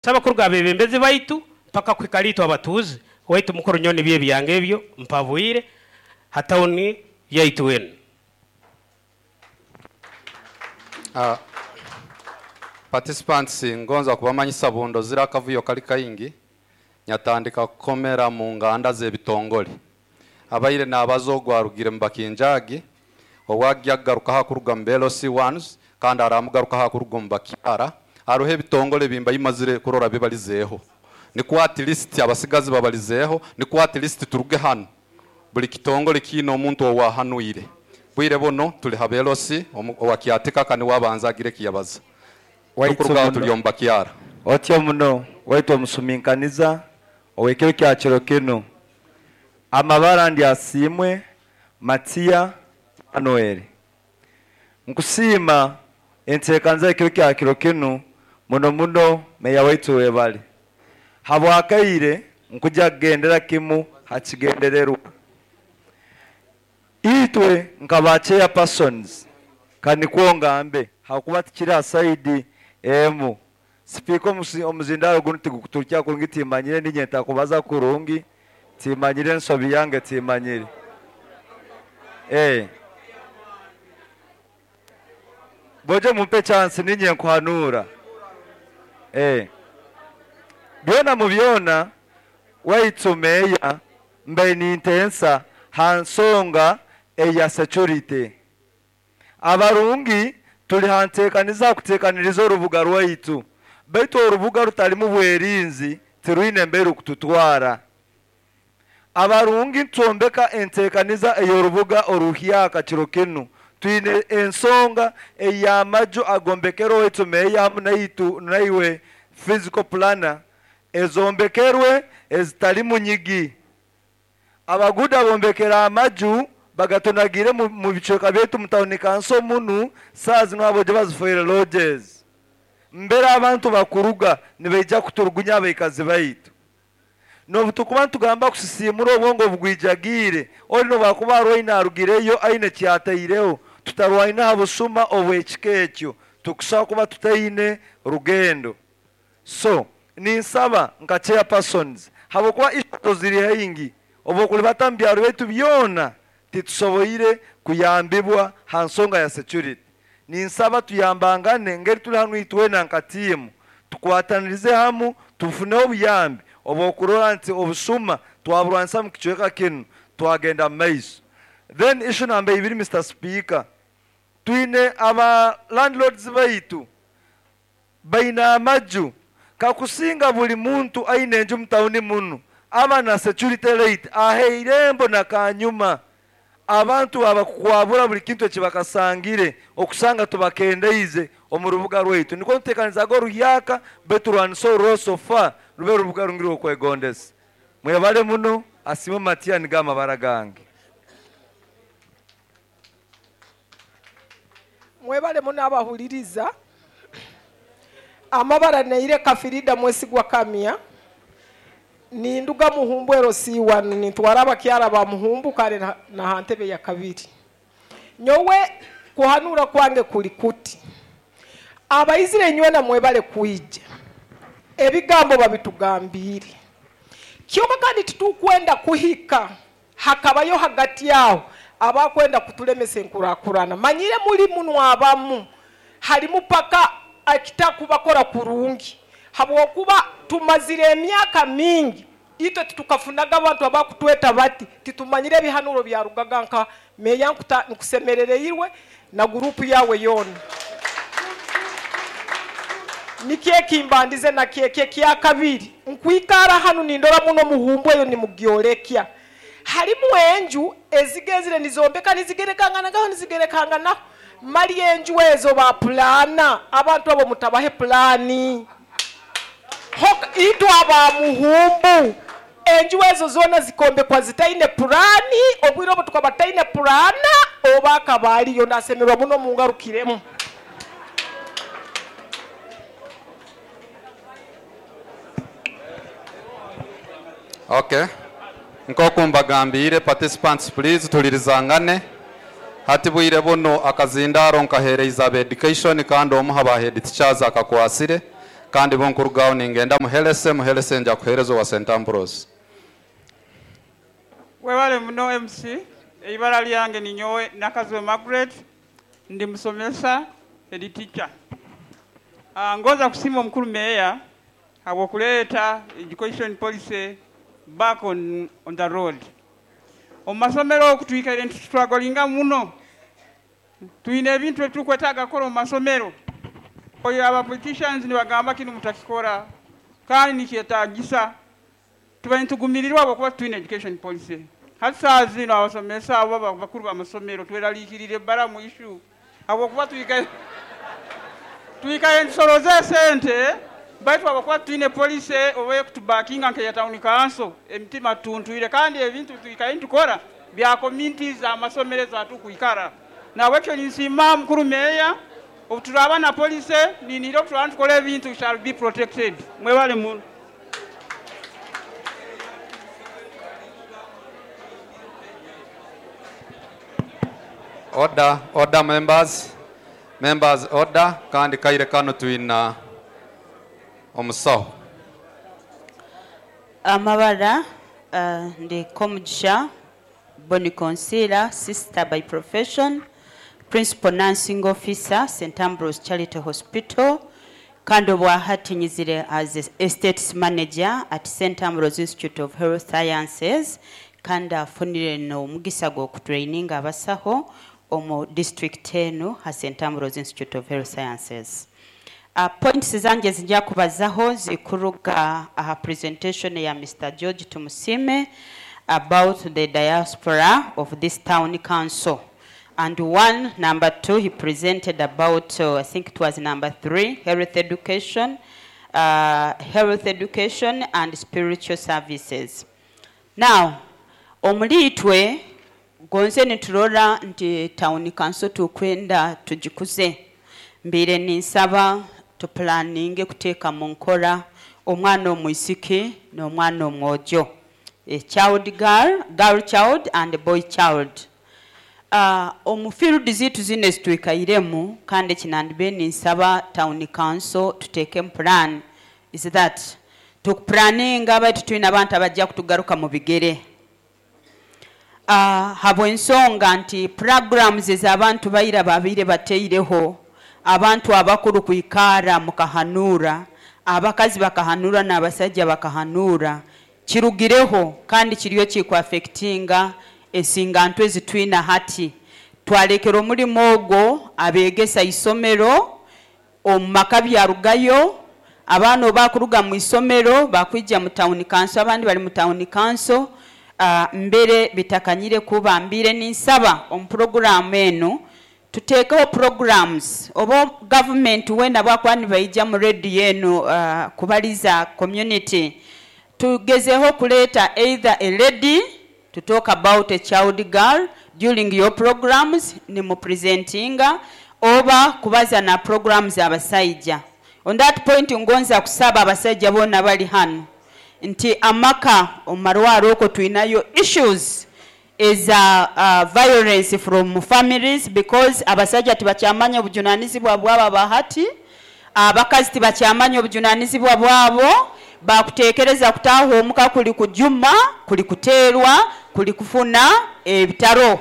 Saba kuruga abebembezi baitu mpaka kuhika itwe abatuuzi. Waitu mukuru nyowe nibyo ebyange ebyo mpabwire ha tawuni yaitu enu. Participants, ngonza kubamanyisa bundo zira akavuyo kali kaingi nyatandika kukomera mu nganda z'ebitongole. Abaire n'abaza ogwo arugire mu bakinjagi, owagya kugaruka ha kuruga mu LC ones, kandi aramugaruka ha kuruga mu bakyara. Haruho ebitongole bimba imazire kurora bibalizeeho. Nikwo at least abasigazi babalizeeho, nikwo at least turuge hano. Buli kitongole kiine omuntu owahanuire. Bwire buno tuli ha LC owa Kyatika kani wabanza agire kiyabaza. Waitu Tukurugaho muno. tuli omu bakyara. Otyo muno waitu omusuminkaniza owekiro kya kiro kinu. Amabara ndi asiimwe Matia Manuel. Nkusiima enteekaniza ekiro kya kiro kinu muno muno meya waitu webale. Habwakaire nkuja kugendera kimu hakigendererwa. Itwe nkaba chairpersons kanikwo ngambe hakuba tikiri asaidi emu. Sipiika omuzindaro guno tigukuturukya kurungi, timanyire ninye ntakubaza kurungi, timanyire ensobi yange timanyire. Boje mumpe chance ninye nkuhanura. Byona mu byona waitu meya mbe nintensa hansonga eya security. Abarungi tuli hantekaniza kutekaniriza orubuga rwaitu, baitu orubuga rutalimu bwerinzi tirwine mbere kututwara. Abarungi twombeka entekaniza ey'orubuga oruhyaka kiro kinu. Twine ensonga ey'amaju agombekerwe waitu meya hamu naitu naiwe physical planner ezombekerwe ezitalimu nyigi. Abaguda bombekera amaju bagatonagire mu bicweka byaitu mu tawuni kanso munu, saa zino abo gye bazifoire lodges. Mbere abantu bakuruga nibaija kuturugunya abaikazi baitu. N'obu tukuba ntugamba kusisimura obwongo bugwijagiire, ori n'obwakuba arwaine arugireyo aine kyataireho, tutarwaine aha busuma obw'ekika ekyo, tukusobola kuba tutaine rugendo. So ninsaba nka chairpersons, habwokuba issues ziri haingi, obwokulibata mu byaro byaitu byona titusoboire kuyambibwa ha nsonga ya security. Ninsaba tuyambangane ngeri tuli hanu itwena nka tiimu, tukwatanirize hamu tufuneho obuyambi obwokurora nti obusuma twaburwanisa mu kicweka kinu twagenda mu maiso. Then issue namba 2, Mr. Speaker, twine aba landlords baitu baine amaju kakusinga buli muntu aine enju mu tawuni munu aba na security rate ahe irembo na kanyuma abantu abakukwabura buli kintu ekibakasangire okusanga tubakendeize omu rubuga rwaitu. Nikwo ntuteekanizaga oruhyaka beturwanisa orurosofa rube rubuga rungire okwegondesa. Mwebale muno, asiimwe Matia nigo amabara gange. Mwebale muno abahuliriza. Amabara neire Kafirida Mwesigwa Kamya. Ninduga Muhumbu ero C1, nintwara abakyara ba Muhumbu kare na hantebe ya kabiri. Nyowe kuhanura kwange kuli kuti. Abaizire nywe na mwebale kuija. Ebigambo babitugambire. Kyoka kandi titukwenda kuhika hakabayo hagati yao abakwenda kutulemesa enkurakurana. Manyire muri muno abamu halimu paka akitakubakora kurungi. Habwokuba tumazire emyaka mingi itwe titukafunaga abantu abakutweta bati titumanyire ebihanuro bya rugaga nka meya nkusemerereirwe na gurupu yawe yona. Nikie kimbandize na kieke kya kabiri nkwikara hanu nindora muno muhumbu eyo nimugyorekya. Halimu enju ezigezire nizombeka nizigerekangana ngaho nizigerekangana mali enju ezo ba plana abantu abo mutabahe plani. Hok itwa aba muhumbu enju ezo zona zikombekwa zitaine plani obwire obo tukabataine plana oba kabali yo nasemerwa muno mungarukiremu. Okay. Nkoku mbagambire participants please tulirizangane. Hati bwire buno akazindaro nkahereiza abe education kandi omu haba head teachers akakwasire Kandi bonkurugaho ningenda muhelese muhelese nja kuhereza wa St. Ambrose. Webale muno MC. Eibara lyange ninyowe Nakazwe Margaret, ndi musomesa, head teacher. Ngoza kusima omukuru meya habwokuleeta education policy back on the road. Omu masomero oku twikaire nitustrugglinga muno, twine ebintu ebitukwetaaga kukora omu masomero. Oyo aba politicians nibagamba kinu mutakikora, kandi nikyetaagisa. Tuba nitugumirirwa habwokuba twine education policy. Hati saaha zino abasomesa abo bakuru b'amasomero tweraliikirire ebbara mu issue habwokuba twikaire ntusoroze esente, baitu habwokuba twine policy oba ekutubakinga nk'eya town council, emitima tuntwire, kandi ebintu twikaire nitukora bya communities amasomero ezatukwikara. Nabwekyo ninsiima mukuru meya, obu turaba na policy ninire obu turaba nitukora ebintu shall be protected. Mwebale muno. Order, order members. Members order. Kandi kaire kano twina omusaho. Amabara, ndi Komugisha Bonny Concealer, sister by profession, principal nursing officer, St. Ambrose Charity Hospital, kandi obwahati nyizire as estates manager at St. Ambrose Institute of Health Sciences, kandi afunire no omugisa gw'okutraininga abasaho omu district enu ha St. Ambrose Institute of Health Sciences. Points zange zijja kubazaho zikuruga aha presentation ya Mr. George Tumusime about the diaspora of this town council. And one, number two, he presented about, I think it was number 3, health education and spiritual services. Now, omulitwe gonze niturora nti town council tukwenda tugikuze. Mbire ninsaba tuplaninge kuteeka mu nkora omwana omwisiki n'omwana omwojo, a child girl, girl child and a boy child. Omu field zitu zino zitwikairemu, kandi kinandibe ninsaba town council tuteeke mu plan is that tukuplaninga baitu tulina abantu abajja kutugaruka mu bigere. Habw'ensonga nti programs ez'abantu baira babiire bateireho, abantu abakuru kwikara mukahanura, abakazi bakahanura n'abasajja bakahanura, kirugireho kandi kiriyo kikwaffectinga ensingantu ezitwina hati. Twalekera omulimu ogwo abeegesa isomero omu maka byarugayo, abaana obakuruga mu isomero bakwija mu town council, abandi bali mu town council. Mbere bitakanyire kuba mbire ninsaba omu programu eno tuteekeho programs oba government wenda bwakuba nibaija mu radio eno, kubaliza community, tugezeho kuleeta either a lady to talk about a child girl during your programs nimupresentinga, oba kubaza na programs abasajja. On that point ngonza kusaba abasajja bonna bali hano nti amaka omumarwaro okwo tulinayo issues eza violence from families, because abasajja tibakyamanya obujunanizibwa bwabo abahati, abakazi tibakyamanya obujunanizibwa bwabo, bakutekereza kutaha omuka kuli kujuma, kuli kuterwa, kuli kufuna ebitaro.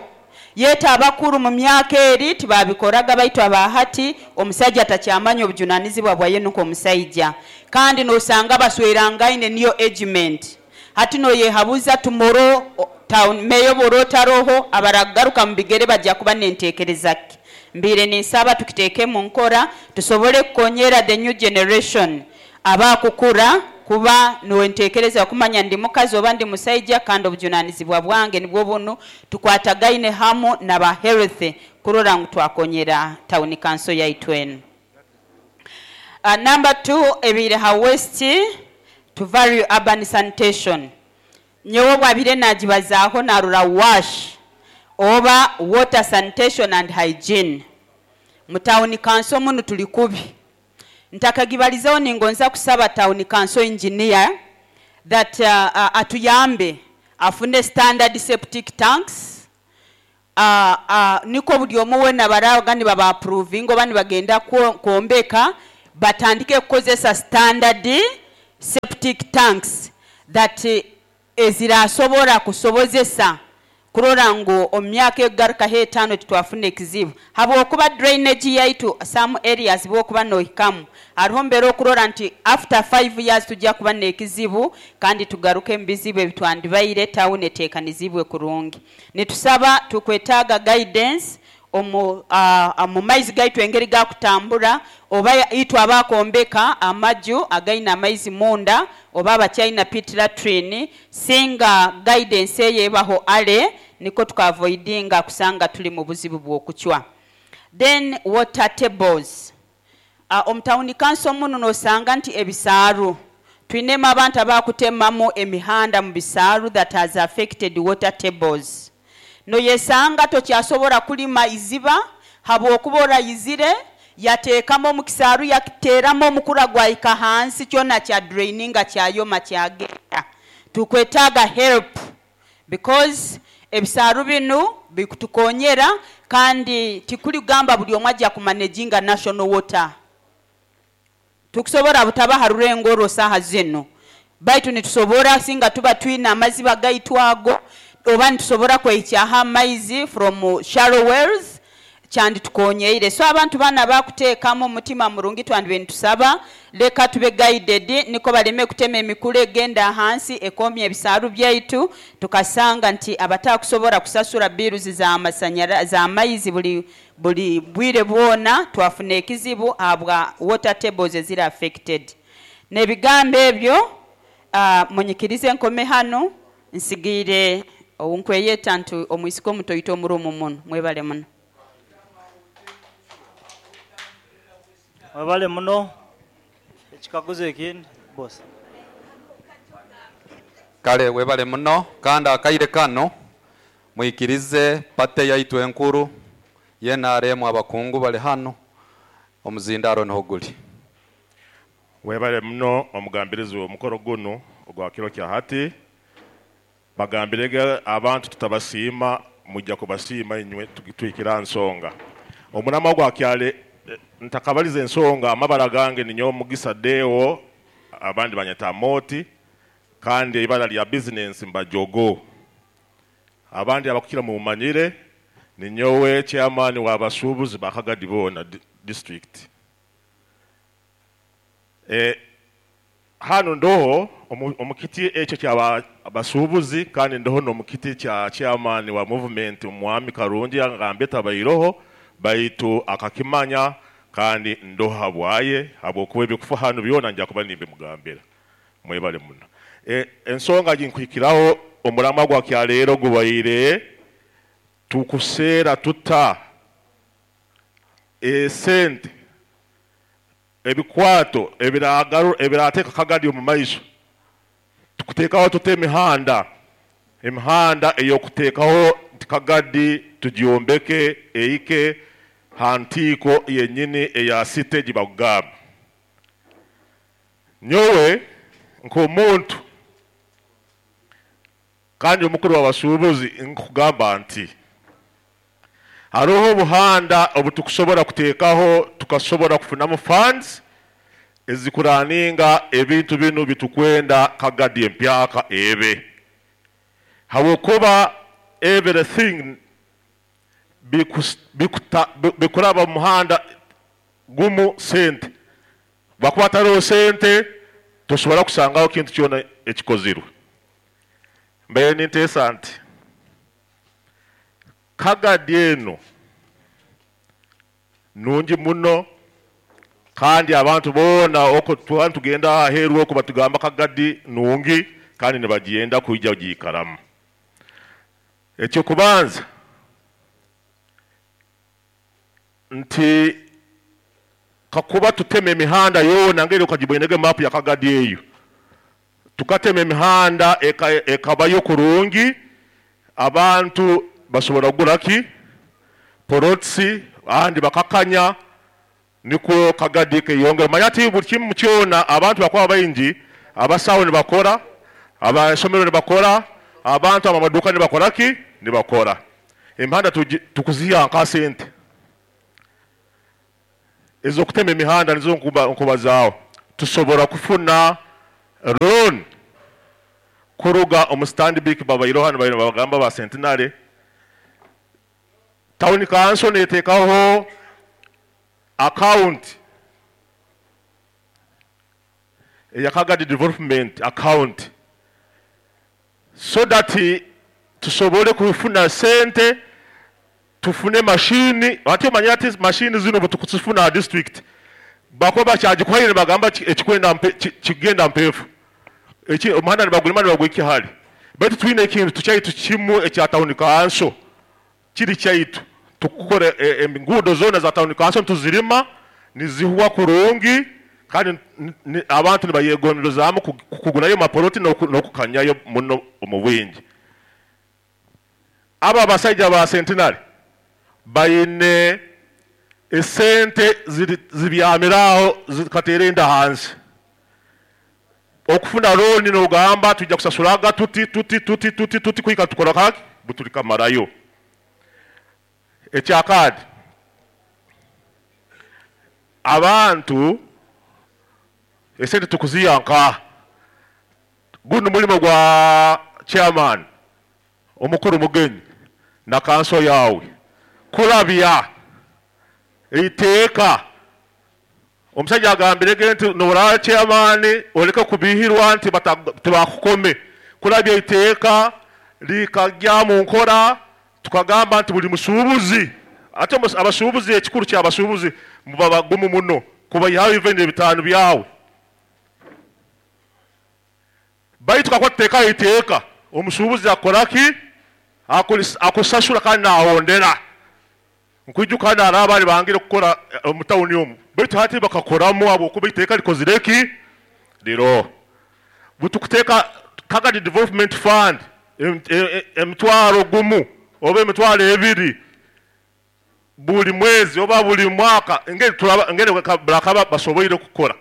Yeta abakuru mu myaka eri tibabikoraga, baitu abahati omusajja takyamanya obujunanizibwa bwaye nuko omusajja, kandi nosanga baswerangaine niyo agement. Hati noyehabuza tomorrow town mayor borotaroho abaragaruka mu bigere bajja kuba nentekereza ki. Mbire ninsaba tukiteeke mu nkora tusobole kukonyera the new generation abakukura kuba nwentekereza kumanya ndi mukazi oba ndi musajja, kandi obujunanizibwa bwange nibwo buno, tukwatagaine hamu na ba health kurora ngu twakonyera town council yaitu eno. Number 2, ebire ha west to value urban sanitation. Nyowe bwabire nagibazaho narura wash oba water sanitation and hygiene. Mu town council muno tuli kubi. Ntakagibalizaho ningonza kusaba town council engineer that atuyambe afune standard septic tanks. Niko buli omu wena baraga ni baba approving oba nibagenda kwombeka Batandike kukozesa standard septic tanks that ezirasobora kusobozesa kurora ngu omu myaka ekugarukaho 5 titwafuna ekizibu, habwokuba drainage yaitu some areas bwokuba nohikamu hariho mbere okurora nti after 5 years tujja kuba n'ekizibu kandi tugaruke mu bizibu ebitwandibaire tawuni eteekanizibwe kurungi. Nitusaba tukwetaaga guidance omu maizi gaitu engeri gakutambura, oba itwe abakombeka amaju againa amaizi munda oba abakyalina pit latrine, singa guidance eyo ebaho ale niko tukavoidinga kusanga tuli mu buzibu bw'okucwa. Then water tables, omu tawuni kanso muno nosanga nti ebisaaru twinemu abantu abakutemamu emihanda mu bisaaru that has affected water tables. Noyesanga tokyasobora kulima iziba habwokuba orayizire yateekamu omu kisaaru yakiteeramu omukura gwahika hansi kyona kya draininga kyayoma kyagenda. Tukwetaaga help because ebisaaru binu bikutukonyera kandi tikuli kugamba buli omwe ajja kumanaginga national water. Tukusobora butaba ha rurengo orwo saaha zinu, baitu nitusobora singa tuba twine amaziba gaitu ago, oba nitusobora kwehikyaho amaizi from shallow wells kyanditukonyeire. So abantu bana bakuteekamu omutima murungi twandibe nitusaba leka tube guided niko baleme kutema emikura egenda ahansi ekomya ebisaaru byaitu, tukasanga nti abatakusobora kusasura bills za maizi buli bwire bwona twafuna ekizibu habwa water tables eziri affected. N'ebigambo ebyo munyikirize nkome hano nsigiire onkweyeta nti omwisika omuto oita omurumu muno. Mwebale muno. Mwebale muno. Ekikaguzo ekindi boss. Kale webale muno kandi akaire kano mwikirize pate yaitu enkuru yenaremu abakungu bali hano omuzindaro niho guli. Webale muno omugambirizi w'omukoro guno ogwa kiro kya hati. Bagambirege abantu tutabasiima mujja kubasiima inywe twikira nsonga. Omunama gwa kyale ntakabaliza ensonga amabara gange ninyo Mugisa Deo abandi banyeta Moti kandi ibara lya business mbajogo. Abandi abakukira mu manyire ninyowe chairman wa basubuzi bakagadi bona district. Hano ndoho omukiti ekyo kya basubuzi kandi ndoho no mukiti kya chairman wa movement Mwami Karungi angambe tabayiroho baitu akakimanya kandi ndoho habwaye habwokuba ebikufa hano byona nja kuba nimbe mugambira. Mwebale muno. Ensonga ginkwikiraho omulama gwa kyaleero gubaire tukuseera tuta esente ebikwato ebirateeka kagadi omu maiso tukuteekaho tuta emihanda ey'okuteekaho nti kagadi tugyombeke eike hantiiko yennyini eya site gibakugamba. Nyowe nk'omuntu kandi omukuru w'abasuubuzi nkugamba nti hariho obuhanda obutukusobora kuteekaho tukasobora kufunamu funds ezikuraninga ebintu binu bitukwenda kagadi empyaka ebe. Habwokuba everything bikuraba mu muhanda gumu sente. Bakuba tariho sente tosobora kusangaho kintu kyona ekikozirwe. Mbaye ninteesa nti kagadi eno nungi muno kandi abantu boona oko tugenda aheeru oko batugamba kagadi nungi kandi nibagenda kwijja kugiikaramu. Ekyokubanza nti kakuba tutema emihanda yoona ngeri okagibwenege mapu ya kagadi eyo tukatema emihanda ekabayo kurungi abantu basobora kugura ki porotsi ahandi bakakanya niko kagadi keyongera. Manya buli kimu kyona abantu bakuba baingi, abasawo nibakora, abasomero nibakora, abantu abamaduka nibakora ki nibakora. Emihanda tukuziha nka sente. Ez'okutema emihanda nizo nkubazaaho. Tusobora kufuna loan kuruga omu Stanbic babaireho hanu bagamba ba Centenary. Town council neteekaho account eya Kagadi Development Account so that tusobole kufuna sente, tufune mashini. Ate omanye ati mashini zino bwe ha district bakuba bakyagikuhaire bagamba ekikwenda kigenda mpeefu, eki omuhanda nibagulima nibagwika hali. Baitu twine ekintu tukyaitu kimu ekya town council kiri kyaitu, tukukora enguudo zoona za town council tuzirima nizihuwa kurungi, kandi abantu nibayegonderezaamu kugurayo mapoloti n'okukanyayo muno omu bwingi. Aba abasaija ba Centenary bayine esente zibyamiraaho zikateera enda hansi. Okufuna looni n'ogamba tujja kusasuraga tuti tuti tuti tuti tuti kuhika tukora kaki butulikamarayo. Ekyakadi, abantu esente tukuziyanka. Guno mulimo gwa chairman omukuru Mugenyi na kanso yawe kulabya iteeka. Omusajja agambirege nti noraba chairman oleke kubihirwa nti tebakukome. Kulabya iteeka likajya mu nkora, tukagamba nti buli musuubuzi, ate abasuubuzi ekikulu ky'abasuubuzi muba bagumu muno kubayihayo even ebitaano byawe. Baitu kakuba tuteekayo iteeka, omusuubuzi akora ki? Akusasula kandi naahondera. Nkwijuka hano hariho abaali bangire kukora omu tawuni omu, baitu hati bakakoramu habwokuba iteeka likozire ki? Liro. Bwe tukuteeka Kagadi Development Fund emitwaro gumu oba emitwaro ebiri buli mwezi oba buli mwaka, engeri turaba engeri bakaba basoboire kukora,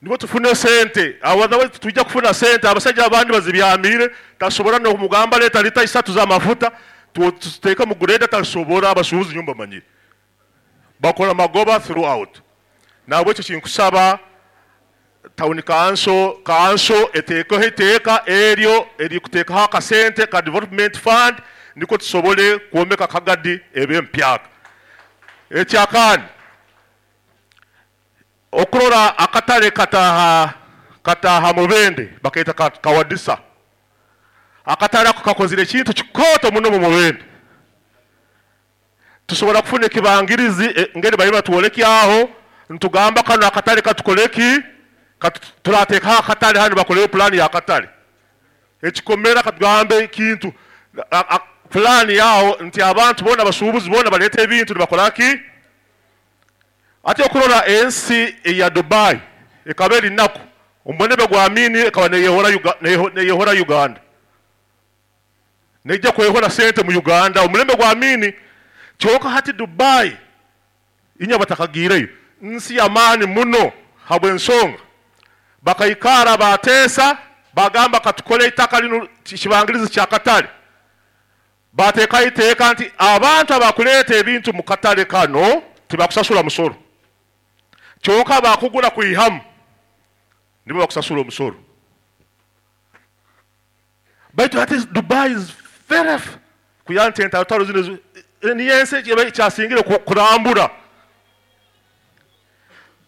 nibwo tufune sente. Otherwise tujja kufuna sente abasajja abandi bazibyamire, tasobora n'okumugamba leeta lita 3 z'amafuta tuteeka mu grade, tasobora. Abasuubuzi nyumba manyire bakora magoba throughout. Nabwekyo kinkusaba town council eteekeho iteeka eryo erikuteekaho akasente ka development fund, niko tusobole kwombeka Kagadi ebe empyaka. Ekyakandi, okurora akatale kataha Mubende bakaita Kawadisa. Akatale ako kakozire ekintu kikooto muno mu Mubende. Tusobora kufuna ekibangirizi, ngeri bali batwolekyaho ntugamba kano akatale katukoleki, turateekaho akatale hano bakoleyo pulani y'akatale ekikomera, katugambe ekintu pulani yaho nti abantu boona abasuubuzi boona baleeta ebintu nibakoraki. Ate okurora ensi eya Dubai ekaba eri naku omubonebe gwa Amini ekaba neyehora Uganda, nejja kwehora sente mu Uganda omulembe gwa Amini. Kyonka hati Dubai inya batakagiireyo nsi y'amaani muno habw'ensonga bakaikara bateesa bagamba katukole itaka lino kibangirizi kya katale. Bateekayo iteeka nti abantu abakuleeta ebintu mu katale kano tibakusasula musoro, kyonka bakugura kwihamu nibo bakusasula omusoro. Baitu hati Dubai is very kuya nti entalotalo zino niyo ensi ekyasingire kurambura.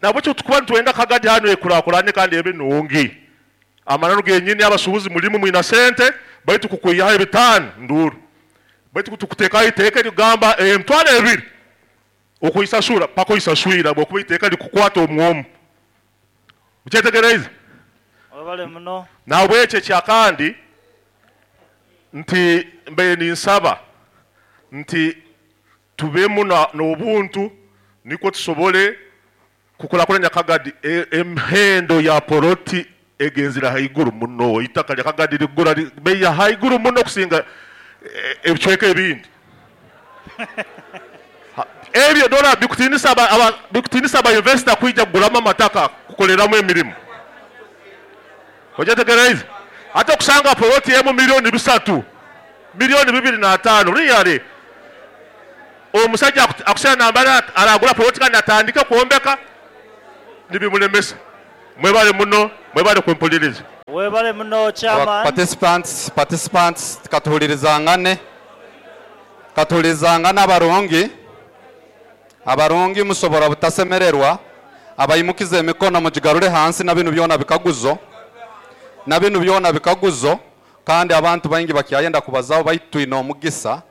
Nabwekyo tukuba nitwenda Kagadi hano ekurakurane kandi ebe nungi. Amananu genyini abasuubuzi mulimu mwina sente, baitu kukwihaho ebitaano nduru, baitu tukuteekayo iteeka erigamba emitwaro ebiri okuyisasura paka oyisaswira, bwokuba iteeka likukwata omwomu. Mukyetegereize? Webale muno. Nabwekyo ekyakandi nti mbaire ninsaba nti tubemu n'obuntu nikwo tusobole kukurakuranya Kagadi. Emihendo ya poloti egenzire haiguru muno. Itaka lya Kagadi ligura bei ya haiguru muno kusinga ebicweka ebindi. Ebyo dola bikutinisa aba investor kwija kuguramu amataka kukoleramu emirimu. Ojategereize? Ate okusanga poloti emu 3 miliyoni, 2.5 miliyoni, really. Omusajja akusana nambara aragura poloti kandi atandike kwombeka nibimulemesa. Mwebale muno, mwebale kumpuliriza. Webale muno chairman. Participants katuhulirizangane. Katuhulirizangane abarungi. Abarungi musobora butasemererwa. Abayimukize emikono mugigarure hansi na binu byona bikaguzo. Na binu byona bikaguzo kandi abantu baingi bakyayenda kubazaho baitwine omugisa.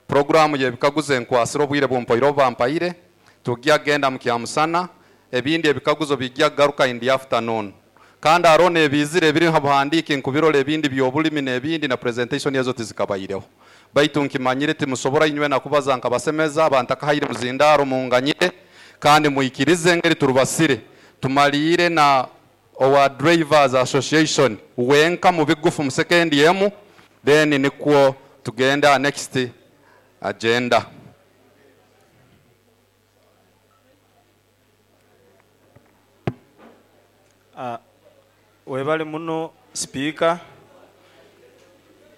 Programu y'ebikaguzo enkwasiro obwire bumpoire bampaire tujya genda mu kyamusana ebindi ebikaguzo bijya garuka in the afternoon. Kandi arone ebizire ebiri habuhandike nkubirole ebindi byobulimi n'ebindi na presentation yazo tizikabaireho. Baitu nkimanyire timusobora inywe na kubaza nkabasemeza abantu akahayire muzindaro munganyire kandi muikirize ngeri turubasire tumalire na our drivers association wenka mu bigufu mu second yemu then nikwo tugenda next agenda. Webale muno speaker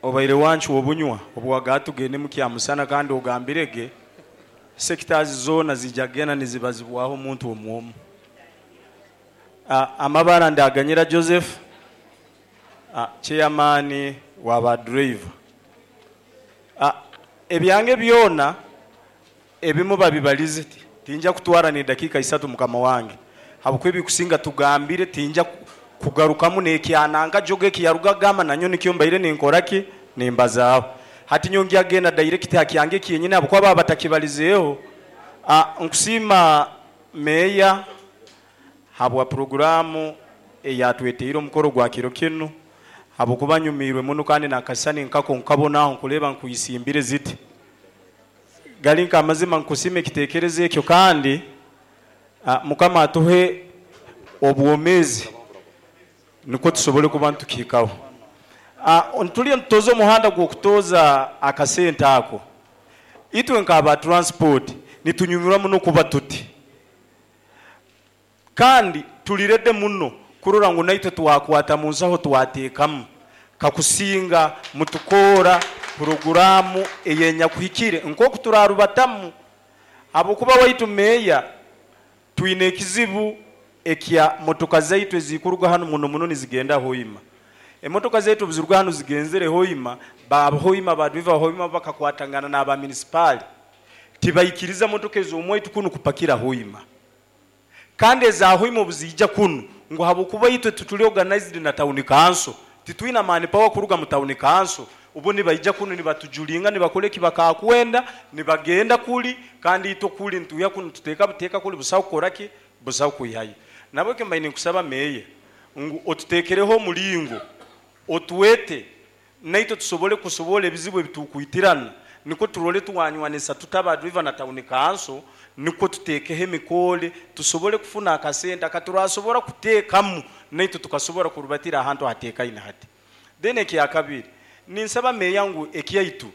obaire wanchu obunywa obwaga tugende mu kyamusana kandi ogambirege sectors zona zijagena nizibazibwaho omuntu omwomu. Amabara ndaganyira Joseph chairman wa ba driver. Ebyange byona ebimu babibalize tinja kutwara ni dakika 3 mukama wange. Habwo ebikusinga tugambire tinja kugarukamu nekyananga joge kiyaruga gama nanyo nikyo mbaire ninkoraki nimbazaaho. Hati nyongi agenda direct hakyange kiyenyine abo kwa baba batakibalizeeho. Nkusima meya habwa programu eyatweteire omukoro gwa kiro kinu habo kubanyumirwe muno kandi nakasani nkako nkabonaho nkuleba nkuyisimbire ziti gali nka amazima nkusime ekitekerezo ekyo kandi mukama atuhe obwomezi niko tusobole kuba ntukikaho. Ntuliye ntutoza omuhanda gw'okutoza akasente ako itwe nkaba transport nitunyumirwa muno kuba tuti kandi tulirede muno kurora ngu naitwe twakwata mu nsaho twateekamu kakusinga mutukora programu eyenyakuhikire nkoku turarubatamu abokuba waitu meya twine ekizibu ekya motoka zaitu ezikuruga hano muno muno nizigenda Hoima. Emotoka zaitu biziruga hano zigenzere Hoima, ba Hoima ba driver Hoima bakakwatangana n'aba municipal tibayikiriza motoka ez'omwaitu kunu kupakira Hoima. Kandi eza Hoima obuzijja kunu ngo habokuba itwe tutuli organized na town council titwina mani power kuruga mu town council ubu nibayija kunu nibatujulinga nibakoleki bakakwenda nibagenda kuli kandi ito kuli ntuya kunu tuteka buteka kuli busawo koraki busawo kuyihaye. Nabo ke mbaine nkusaba meye ngu otutekereho mulingo otuwete naito tusobole kusobola ebizibu ebitukuitirana niko turole tuwanywanisa tutaba driver na town council niko tutekeho emikole tusobole kufuna akasente akaturasobora kuteekamu naito tukasobora kurubatira ahantu hatekaine hati. Then ekyakabiri ninsaba meya ngu ekyaitu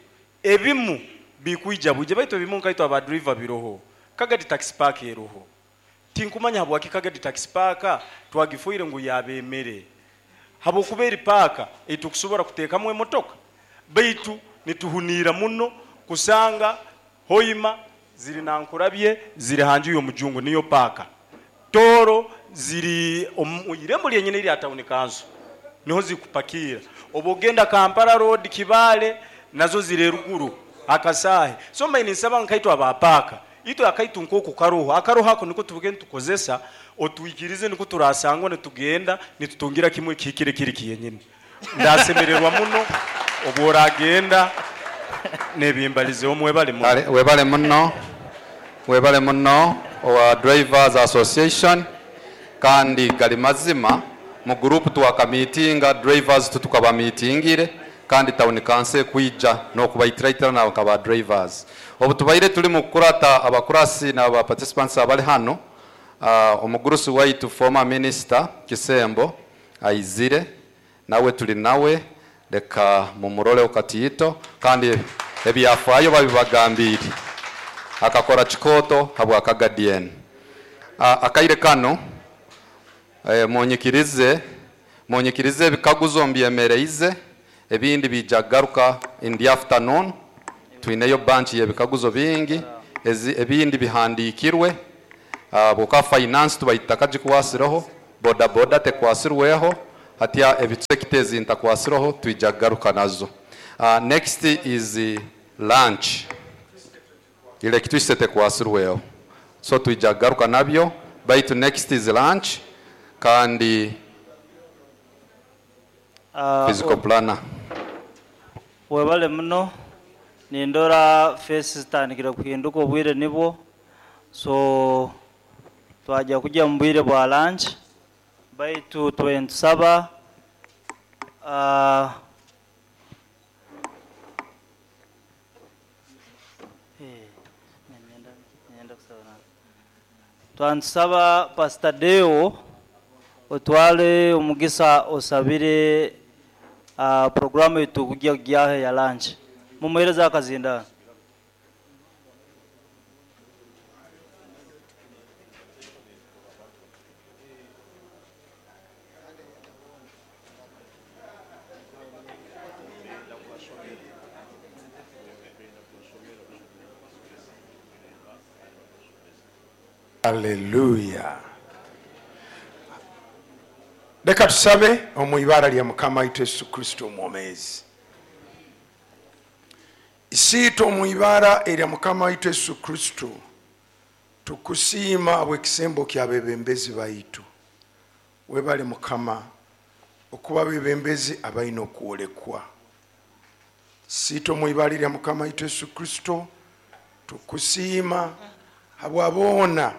ebimu bikuija buje baitu ebimu nkaito aba driver biroho Kagadi taxi park eroho tinkumanya habwaki Kagadi taxi park twagifuire ngu yabemere habokuberi park etukusobora kuteekamu emotoka baitu nituhunira muno kusanga Hoima ziri nankurabye ziri hanju yo mujungu niyo paka Toro ziri irembo lyenyine iri town council niho zikupakira obogenda Kampala road Kibale nazo ziri ruguru akasahe. So mbaine nsaba nkaitwa aba paka ito akaitu nkoko karoho akaroho ako niko tubugenda tukozesa otuikirize niko turasangwa nitugenda nitutungira kimwe kikire kiri kiyenyine. Ndasemererwa muno obworagenda nebimbalize omwebale muno. Webale muno. Webale muno wa Drivers Association kandi gali mazima mu group twakamitinga drivers tutukaba meetingire kandi town council kuija no kubaitiraitira na kaba drivers. Obutubaire tuli mu kurata abakurasi na aba participants abali hano omugurusi waitu former minister Kisembo aizire nawe tuli nawe leka mumurole okatiito kandi ebyafayo babibagambire akakora chikoto habwa Kagadien. Akaire kano munyikirize ebikaguzo mbyemereize ebindi bijagaruka in the afternoon. Twineyo bunch y'ebikaguzo bingi Ebindi bihandikirwe bwoka finance tubaitakagikwasireho, boda boda tekwasirweho, hatya ebitsekita ezintakwasireho twija kugaruka nazo. Next is lunch, electricity tekwasirweho, so twija kugaruka nabyo, baitu next is lunch kandi physical planner. Webale muno, nindora face zitandikire kuhinduka obwire nibwo, so twajya kujya mu bwire bwa lunch, baitu twentusaba twantusaba Pastor Deo otwale omugisa osabire programu yetu kujya kujyaho ya lunch. Mumuhereza akazinda. Haleluya. Leka tusabe omu ibara lya Mukama waitu Yesu Kristo omwomezi. Isiito omu ibara erya Mukama waitu Yesu Kristo, tukusiima bw'ekisembo ky'abebembezi baitu. Webale Mukama okuba abebembezi abalina okwolekwa. Siito omu ibara erya Mukama waitu Yesu Kristo, tukusiima habwaboona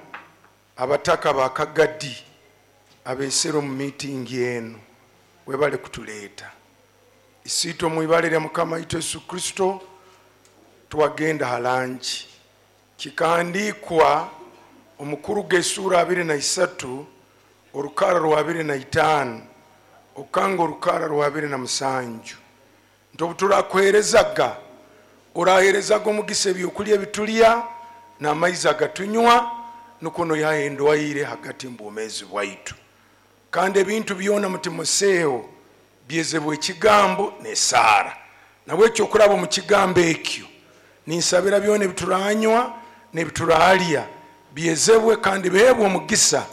abataka bakagadi abesera omu miitingi eno. Webale kutuleeta. Isiito omu ibara erya Mukama waitu Yesu Kristo, twagenda halangi. Kikahandikwa omukuru g'esuura 23 orukara rwa 25 okanga orukara rwa 27 nti obu turakuheerezaga oraheerezaga omugisa ebyokulya ebitulya n'amaizi agatunywa, nukwo noyaha endwaire hagati mu bwomeezi bwaitu. Kandi ebintu byona mu Timoseewo byezebwa ekigambo n'esaara. Nabwekyo okuraba omu kigambo ekyo ninsabira byona ebituranywa n'ebituralya byezebwe kandi bihebwe omugisa,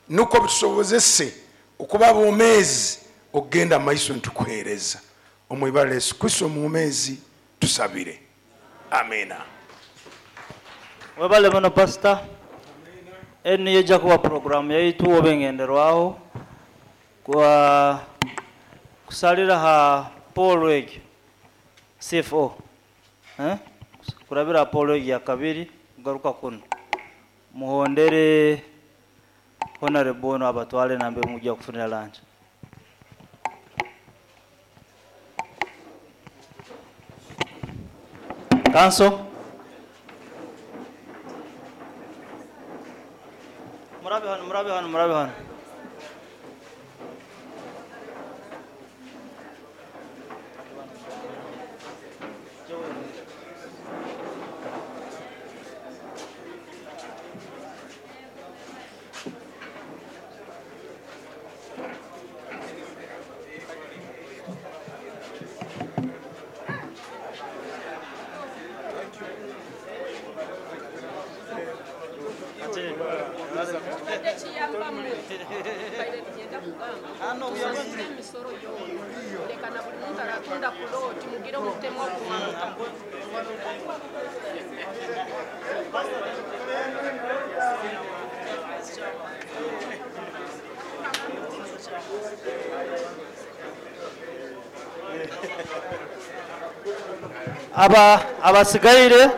nukwo bitusobozese okuba abomeezi okugenda amaiso nitukuheereza. Omu ibara lya Yesu Kristo omwomeezi tusabire, amina. Webale muno pastor. Enu niyo ejja kuba programu yaitu oba engenderwaho kwa kusalira ha Paul egyo CFO, kurabira Paul egyo ya kabiri kugaruka kuno muhondere honorable ono abatwale nambe mujja kufunira lunch. Council. Murabe hano, murabe hano, murabe hano. Abasigaire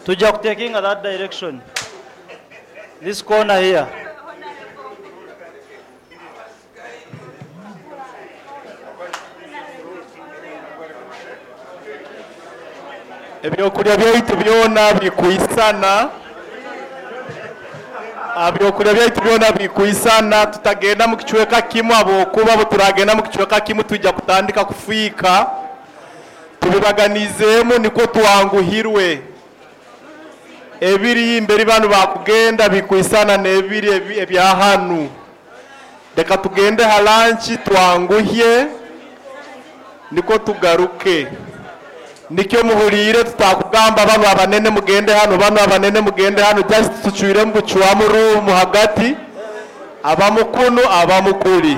tujja kutakinga that direction, this corner here. Ebyokulya byaitu byona bikuisana, ebyokulya byaitu byona bikuisana, tutagenda mu kicweka kimu, abokuba bo turagenda mu kicweka kimu tujja kutandika kufiika. Tubibaganizeemu nikwo twanguhirwe. Ebiri imberi banu bakugenda bikuisana n'ebiri ebya hanu. Reka tugende halanchi twanguhye nikwo tugaruke. Nikyo muhuliire tutakugamba bano abanene mugende hano, bano abanene mugende hano, just tucwiremu bucwamu ruumu hagati, abamukunu abamukuli.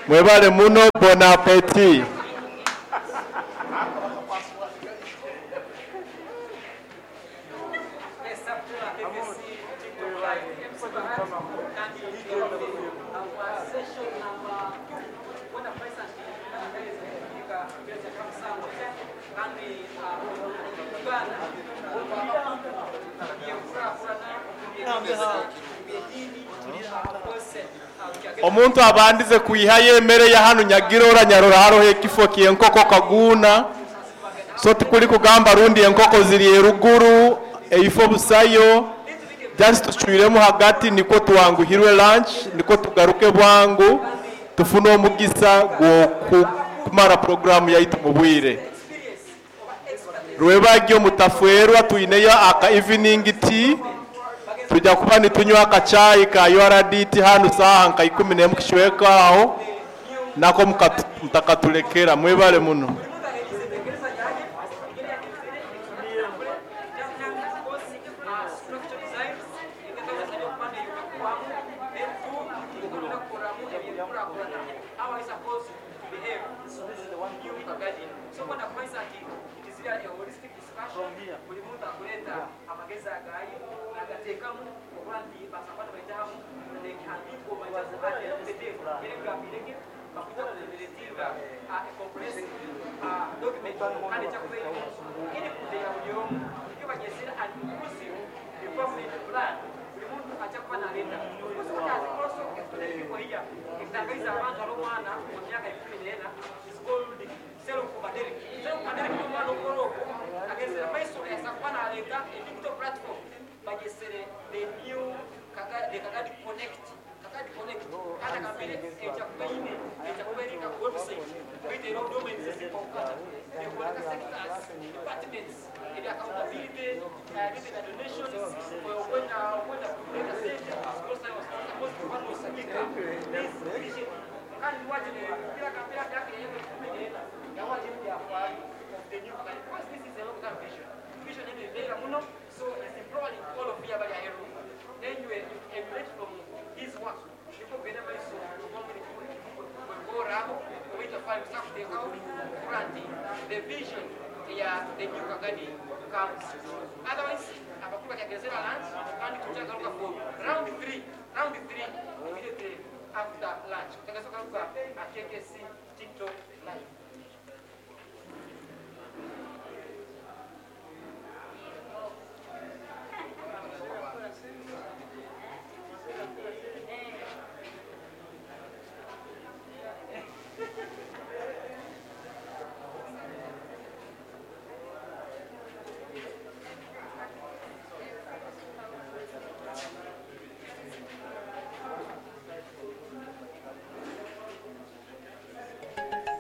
Mwebale muno, bon appetit. Omuntu abandize kwihayo emere ya hanu nyagirora nyarora haroho ekifo ky'enkoko kaguna, so tikuli kugamba rundi enkoko ziri eruguru eifo busayo, just tucwiremu hagati niko twanguhirwe lunch, niko tugaruke bwangu tufune omugisa gw'okumara programu yaitu mu bwire. Rwebagyo mutafwerwa, tuineyo aka evening tea, tujja kuba nitunywa akachayi ka URDT hanu saaha nka 11 kishweka aho nako mutakatulekera. Mwebale muno. Round 3 immediately after lunch.